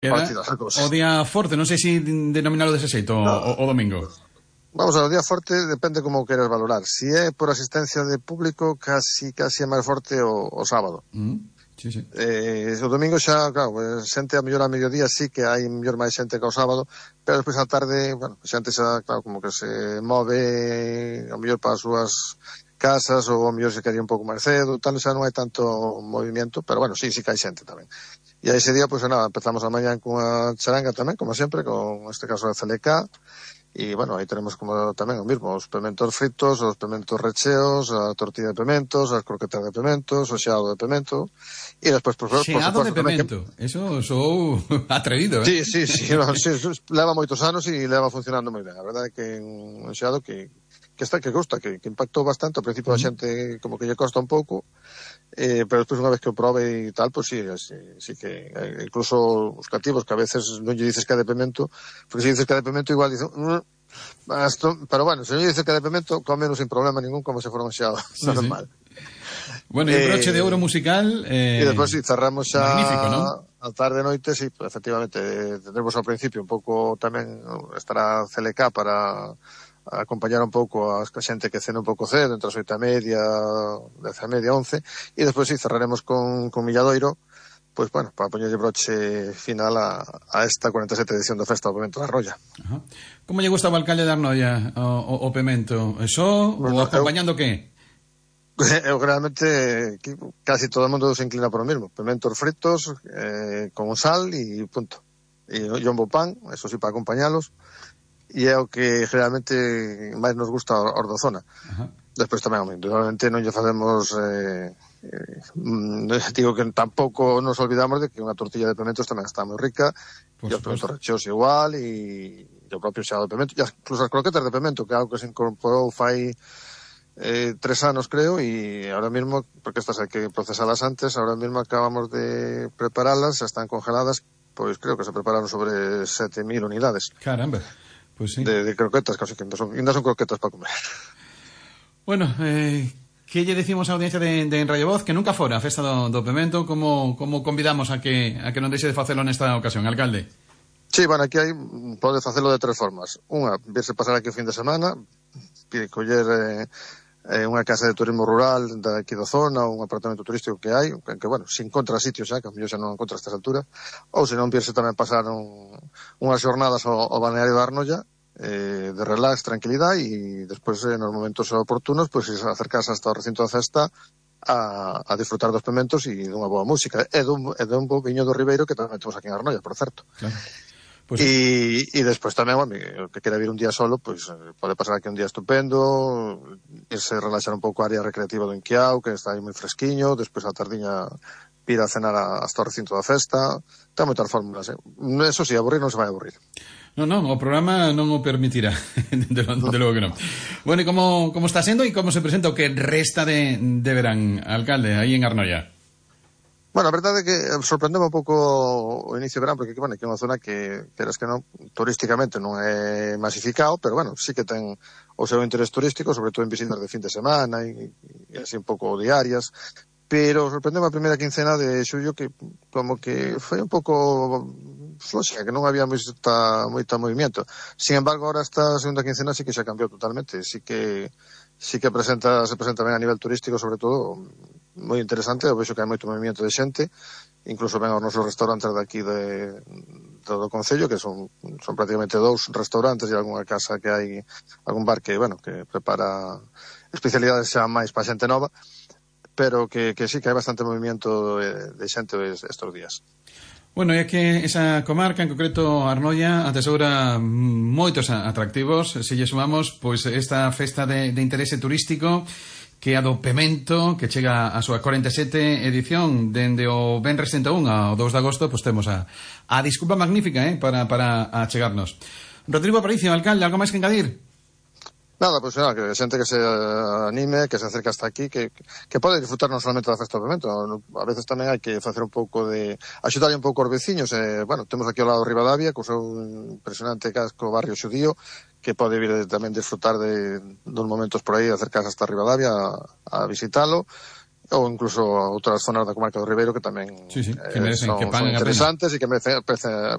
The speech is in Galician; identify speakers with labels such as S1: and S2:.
S1: Queda
S2: partidas as
S1: o
S2: cousas.
S1: día forte, non sei se denominalo dese xeito, o domingo.
S2: Vamos a ver, o día forte depende como o queres valorar. Si é por asistencia de público, casi é máis forte o sábado.
S1: Sí, sí.
S2: O domingo xa, claro, xente a mellor a mediodía sí que hai mellor máis xente que o sábado, pero despois á tarde, bueno, xente xa, claro, como que se move a mellor para as súas casas ou a mellor se quería un pouco máis cedo, tal, xa non hai tanto movimento, pero bueno, sí que hai xente tamén. E a ese día, pois nada, empezamos a mañán cunha charanga tamén, como sempre, con este caso a CLK, e bueno, aí tenemos como tamén o mismo, os pementos fritos, os pementos recheos, a tortilla de pementos, as croquetas de pementos, o xeado de pemento, e despois, por
S1: Xeado
S2: suposto,
S1: de pemento, eso sou atrevido,
S2: Sí, no, sí, leva moitos anos e leva funcionando moi ben. A verdade é que un xeado que gusta, que impactou bastante. Ao principio a xente como que lle costa un pouco, pero despois unha vez que o probe e tal, pues sí que incluso os cativos que a veces non lle dices que é de pemento, porque se dices que é de pemento igual dicen pero bueno, se non lle dices que é de pemento, comeno sin problema ningún como se fora un xeado normal.
S1: Bueno, e un broche de ouro musical
S2: e despois cerramos xa
S1: magnífico, non?
S2: a tarde noite, sí, efectivamente tendremos ao principio un pouco tamén estará CLK para acompañar un pouco a xente que cena un pouco cedo, entre as 8:30, 10:30, 11, e despois sí, cerraremos con Milladoiro, pois bueno, para poñerlle broche final a esta 47 edición da Festa do Pemento da Rolla.
S1: Ajá. Como lle gusta ao alcalde de Arnoia o pemento? Eso ou acompañando que?
S2: Eu realmente casi todo o mundo se inclina por o mismo, pementos fritos con sal e punto, e jombo pan, eso sí, para acompañalos, e é o que realmente máis nos gusta aos da zona. Despois tamén, normalmente non lle facemos digo que tampouco nos olvidamos de que unha tortilla de pementos tamén está moi rica, e os pementos recheos igual, e o propio xeado de pemento, e incluso as croquetas de pemento, que é algo que se incorporou fai 3 anos creo, e ahora mismo, porque estas hai que procesalas antes, ahora mismo acabamos de preparalas, xa están congeladas, pois creo que se prepararon sobre 7.000 unidades.
S1: Caramba, pois sí.
S2: De croquetas, casi que ainda son croquetas para comer.
S1: Bueno, que lle decimos á audiencia de Radio Voz que nunca fora a festa do pemento, como convidamos a que non deixe de facelo nesta ocasión, alcalde?
S2: Sí, bueno, aquí pode facelo de 3 formas. Unha, virse pasar aquí o fin de semana, coller unha casa de turismo rural daqui da zona, ou un apartamento turístico que hai, que bueno, se encontra sitios xa, que a mellor xa non encontra a estas alturas, ou se non virse tamén pasar unhas jornadas ao balneario da Arnoia, de relax, tranquilidade, e despois nos momentos oportunos, pois acercarse hasta o recinto da festa a disfrutar dos pementos e dunha boa música, e dun bo viño do Ribeiro que tamén temos aquí en Arnoia, por certo.
S1: Claro.
S2: Pues... E despois tamén, bueno, o que quera vir un día solo, pois pode pasar aquí un día estupendo, irse relaxar un pouco a área recreativa do Inquiao, que está aí moi fresquiño, despois a tardiña vir a cenar hasta o recinto da festa, ten moitas fórmulas, Eso sí, aburrir non se vai aburrir.
S1: Non, o programa non o permitirá, de logo que non. Bueno, e como está sendo e como se presenta o que resta de verán, alcalde, aí en Arnoia?
S2: Bueno, a verdade é que sorprendeu un pouco o inicio de verán, porque, bueno, que é unha zona que, queras que non, turísticamente non é masificado, pero, bueno, sí que ten o seu interés turístico, sobre todo en visitas de fin de semana e así un pouco diarias, pero sorprendeu a primeira quincena de xullo que como que foi un pouco floxa, que non había moita movimiento. Sin embargo, ahora esta segunda quincena sí que xa cambiou totalmente, sí que se presenta ben a nivel turístico, sobre todo moi interesante. Eu vexo que hai moito movimento de xente, incluso ven aos nosos restaurantes daqui do Concello, que son prácticamente 2 restaurantes e algunha casa que hai, algún bar que, bueno, que prepara especialidades xa máis para xente nova, pero que sí que hai bastante movimento de xente estes días.
S1: Bueno, é que esa comarca, en concreto Arnoia, atesoura moitos atractivos. Se lle sumamos, pois, esta festa de interese turístico, que é a do Pemento, que chega a súa 47 edición dende o venres 101 ao 2 de agosto, pois temos a desculpa magnífica para achegarnos. Rodrigo Aparicio, alcalde, algo máis que engadir?
S2: Nada, pois nada, que xente que se anime, que se acerca hasta aquí, que pode disfrutar non solamente da festa do Pemento, a veces tamén hai que facer un pouco de axudar un pouco aos veciños, bueno, temos aquí ao lado Ribadavia, co seu impresionante casco barrio xudío, que pode vir tamén disfrutar de uns momentos por aí, acercarse hasta Ribadavia a visitalo, ou incluso outras zonas da comarca do Ribeiro que tamén
S1: que merecen,
S2: son interesantes e que merecen